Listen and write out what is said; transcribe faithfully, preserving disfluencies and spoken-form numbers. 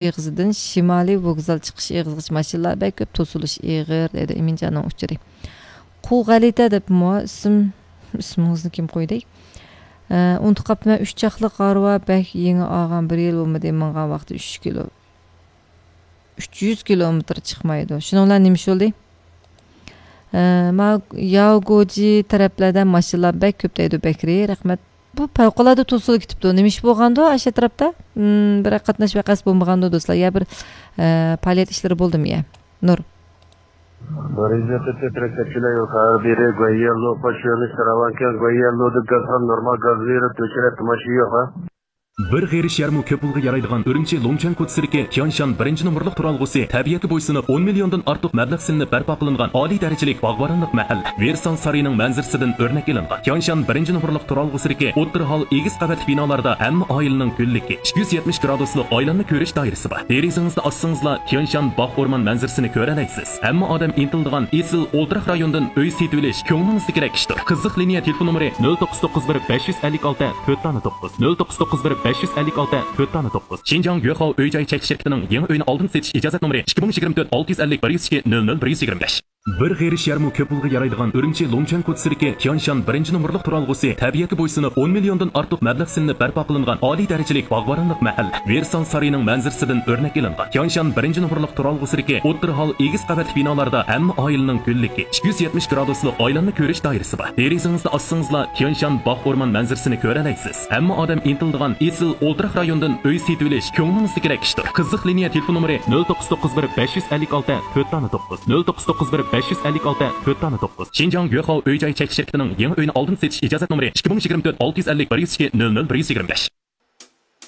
ئېغىزىدىن شىمالىي ۋوگزال چىقىش ئېغىزىغىچە ماشىنىلار بەك كۆپ، توسۇلۇش ئېغىر، دەيدۇ ئىمىنجاننىڭ ئۇچۇرى. قۇ غەلىتە دەپمۇ ئىسىم، ئىسمىڭىزنى كىم قويدى؟ ئە، ئۇنتۇپ قاپتىمەن، ئۈچ چاقلىق ھارۋا بەك يېڭى ئالغان، بىر يىل بولمىدى، ماڭغان ۋاقتى ئۈچ كىلو. ئۈچ يۈز كىلومېتىر چىقمايدۇ. شۇنىڭ بىلەن نېمە ئىش بولدى؟ ئە، ما ياۋگوجى تەرەپلەردە ماشىنىلار بەك كۆپ دەيدۇ، بەكرى. رەھمەت. بۇ پەۋقۇلئاددە توسۇلۇپ كېتىپتۇ. نېمە ئىش بولغاندۇ ئاشۇ ئەتراپتا؟ م، بىر قاتناش ۋەقەسى بولمىغاندۇ، دوستلار؟ يا بىر، ئە، پائالىيەت ئىشلىرى بولدىمۇ يا؟ نۇر. Результаты тридцать человек, а, Гуайелло, по чёрной Сараванке, Гуайеллода газ, нормал газ берип, өчүрәт, машина yo'q, а? بىر غېرىش يەرمۇ كۆپ پۇلغا يارايدىغان ئۈرۈمچى لۇڭچۈەن كوچىسىدىكى تيانشان بىرىنچى نومۇرلۇق تۇرالغۇسى تەبىئەتكە بويسۇنۇپ، ئون مىليوندىن ئارتۇق مەبلەغ سېلىنىپ بەرپا قىلىنغان ئالىي دەرىجىلىك باغۋەنلىك مەھەللە. ۋېرسال سارىيىنىڭ مەنزىرىسىدىن ئۆرنەك ئېلىنغان تيانشان بىرىنچى نومۇرلۇق تۇرالغۇسىدىكى ئوتتۇرا ھال ئېگىز قەۋەتلىك بىنالاردا ھەممە ئائىلىنىڭ گۈللۈكى، ئىككى يۈز يەتمىش گرادۇسلۇق ئايلانما كۆرۈش دائىرىسى بار. دېرىزىڭىزنى ئاچسىڭىزلا، تيانشان باغ ئورمان مەنزىرىسىنى كۆرەلەيسىز. ھەممە ئادەم ئىنتىلىدىغان ئېسىل ئولتۇراق رايونىدىن ئۆي سېتىۋېلىش كۆڭلىڭىزدىكىدەك ئىشتۇر. قىزىق لىنىيە تېلېفون نومۇرى: نۆل توققۇز توققۇز بىر بەش يۈز ئەللىك ئالتە تۆت دانە توققۇز، نۆل توققۇز توققۇز بىر بەش يۈز ئەللىك ئالتە تۆت دانە توققۇز. شىنجاڭ يۆخاۋ ئۆي جاي چەكلىك شىركىتىنىڭ يېڭى ئۆينى ئالدىن سېتىش ئىجازەت نومۇرى: ئىككى مىڭ يىگىرمە تۆت ئالتە يۈز ئەللىك بىر يۈز ئىككى نۆل نۆل بىر يۈز يىگىرمە بەش. بىر غېرىش يەرمۇ كۆپ پۇلغا يارايدىغان ئۈرۈمچى لۇڭچۈەن كوچىسىدىكى تيانشان بىرىنچى نومۇرلۇق تۇرالغۇسى تەبىئەتكە بويسۇنۇپ، ئون مىليوندىن ئارتۇق مەبلەغ سېلىنىپ بەرپا قىلىنغان ئالىي دەرىجىلىك باغۋەنلىك مەھەللە. ۋېرسال سارىيىنىڭ مەنزىرىسىدىن ئۆرنەك ئېلىنغان تيانشان بىرىنچى نومۇرلۇق تۇرالغۇسىدىكى ئوتتۇرا ھال ئېگىز قەۋەتلىك بىنالاردا ھەممە ئائىلىنىڭ گۈللۈكى، ئىككى يۈز يەتمىش گرادۇسلۇق ئايلانما كۆرۈش دائىرىسى بار. دېرىزىڭىزنى ئاچسىڭىزلا، تيانشان باغ ئورمان مەنزىرىسىنى كۆرەلەيسىز. ھەممە ئادەم ئىنتىلىدىغان ئېسىل ئولتۇراق رايونىدىن ئۆي سېتىۋېلىش كۆڭلىڭىزدىكىدەك ئىشتۇر. قىزىق لىنىيە تېلېفون نومۇرى: نۆل توققۇز توققۇز بىر بەش يۈز ئەللىك ئالتە تۆت دانە توققۇز، نۆل توققۇز توققۇز بىر بەش يۈز ئەللىك ئالتە تۆت دانە توققۇز. شىنجاڭ يۆخاۋ ئۆي جاي چەكلىك شىركىتىنىڭ يېڭى ئۆينى ئالدىن سېتىش ئىجازەت نومۇرى: ئىككى مىڭ يىگىرمە تۆت ئالتە يۈز ئەللىك بىر يۈز ئىككى نۆل نۆل بىر يۈز يىگىرمە بەش.